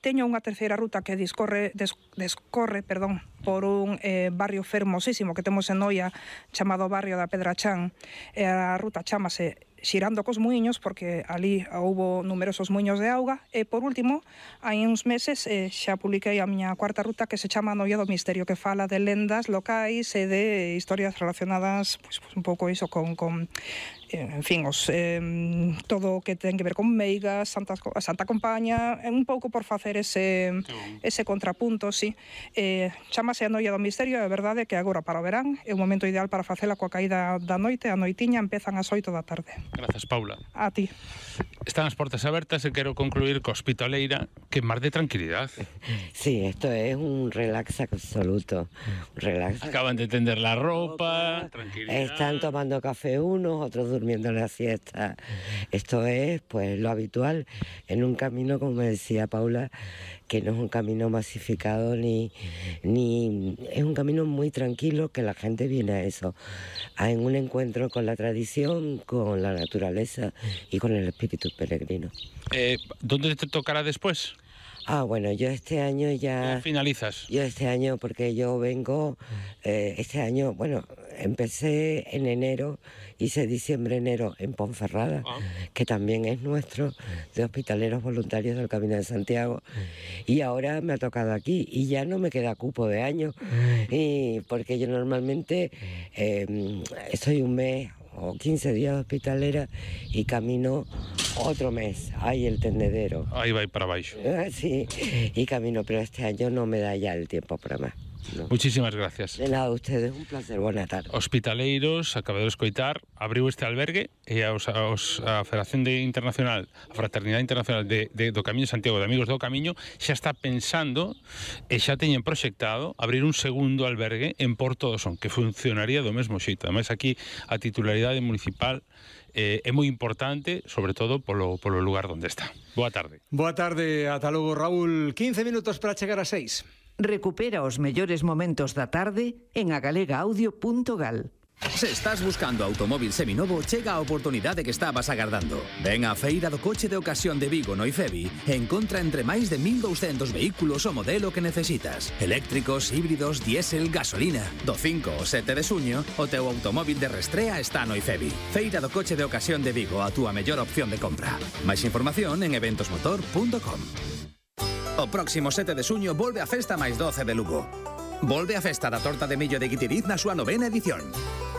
Teño unha terceira ruta que descorre por un barrio fermosísimo que temos en Noia chamado Barrio da Pedrachán. A ruta chamase Xirando cos Muiños, porque ali houbo numerosos muiños de auga. E, por último, hai uns meses xa publiquei a miña cuarta ruta que se chama Noia do Misterio, que fala de lendas locais e de historias relacionadas pues un pouco iso con en fin, todo o que ten que ver con meigas, a Santa Compaña, un pouco por facer ese contrapunto, sí. Chámase a Noia do Misterio, é verdade que agora para o verán é o momento ideal para facela coa caída da noite. A noitiña empezan ás 8 da tarde. Grazas, Paula. A ti. Están as portas abertas e quero concluir co Hospitaleira, que mar de tranquilidad. Sí, esto es un relax absoluto. Relax. Acaban de tender la ropa, tranquilidad. Están tomando café unos, otros durmiendo la siesta. Esto es, pues, lo habitual en un camino, como me decía Paula, que no es un camino masificado ni es un camino muy tranquilo, que la gente viene a eso, en un encuentro con la tradición, con la naturaleza y con el espíritu peregrino. ¿Dónde te tocará después? Bueno, yo este año ya... ¿Finalizas? Yo este año, porque yo vengo, este año, bueno, empecé en enero, hice diciembre-enero en Ponferrada, que también es nuestro, de hospitaleros voluntarios del Camino de Santiago, y ahora me ha tocado aquí, y ya no me queda cupo de año, porque yo normalmente estoy un mes o 15 días de hospitalera y camino otro mes. Ahí el tendedero. Ahí va para abaixo. Sí, y camino, pero este año no me da ya el tiempo para más. No. Muchísimas gracias. De nada, ustedes, un placer, buena tarde. Hospitaleiros, acabado de escoitar, abriu este albergue e a Federación Internacional, a Fraternidade Internacional do Camiño de Santiago, de Amigos do Camiño, xa está pensando e xa teñen proxectado abrir un segundo albergue en Porto do Son, que funcionaría do mesmo xeito. Ademais, aquí a titularidade municipal é moi importante, sobre todo polo lugar onde está. Boa tarde. Boa tarde, ata logo, Raúl. 15 minutos para chegar a 6. Recupera os mellores momentos da tarde en agalegaaudio.gal. Se estás buscando automóvil seminovo, chega a oportunidade que estabas agardando. Ven á Feira do Coche de Ocasión de Vigo no IFEBI e encontra entre máis de 1.200 vehículos o modelo que necesitas. Eléctricos, híbridos, diésel, gasolina. Do 5 ao 7 de suño, o teu automóvil de restrea está no IFEBI. Feira do Coche de Ocasión de Vigo, a túa mellor opción de compra. Máis información en eventosmotor.com. O próximo 7 de suño volve a Festa máis 12 de Lugo. Volve a Festa da Torta de Millo de Guitiriz na súa 9ª edición.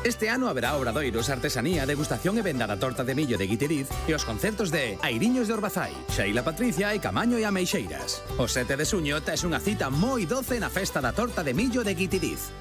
Este ano haberá obradoiros, artesanía, degustación e venda da Torta de Millo de Guitiriz e os concertos de Airiños de Orbazai, Xeila Patricia e Camaño e Ameixeiras. O 7 de suño tes unha cita moi doce na Festa da Torta de Millo de Guitiriz.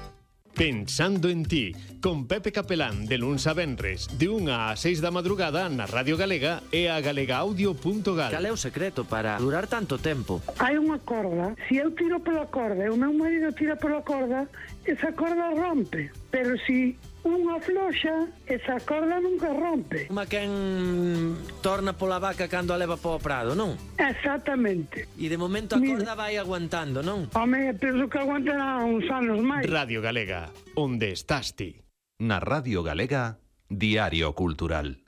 Pensando en ti, con Pepe Capelán, de luns a venres, de 1 a 6 da madrugada na Radio Galega e a galegaaudio.gal. Cal é o secreto para durar tanto tempo? Hai unha corda, se eu tiro pola corda e o meu marido tira pola corda, esa corda rompe, pero se unha floxa, esa corda nunca rompe. Como quen torna pola vaca cando a leva para o prado, non? Exactamente. E de momento a corda vai aguantando, non? Home, penso que aguantará uns anos máis. Radio Galega, onde estás ti? Na Radio Galega, Diario Cultural.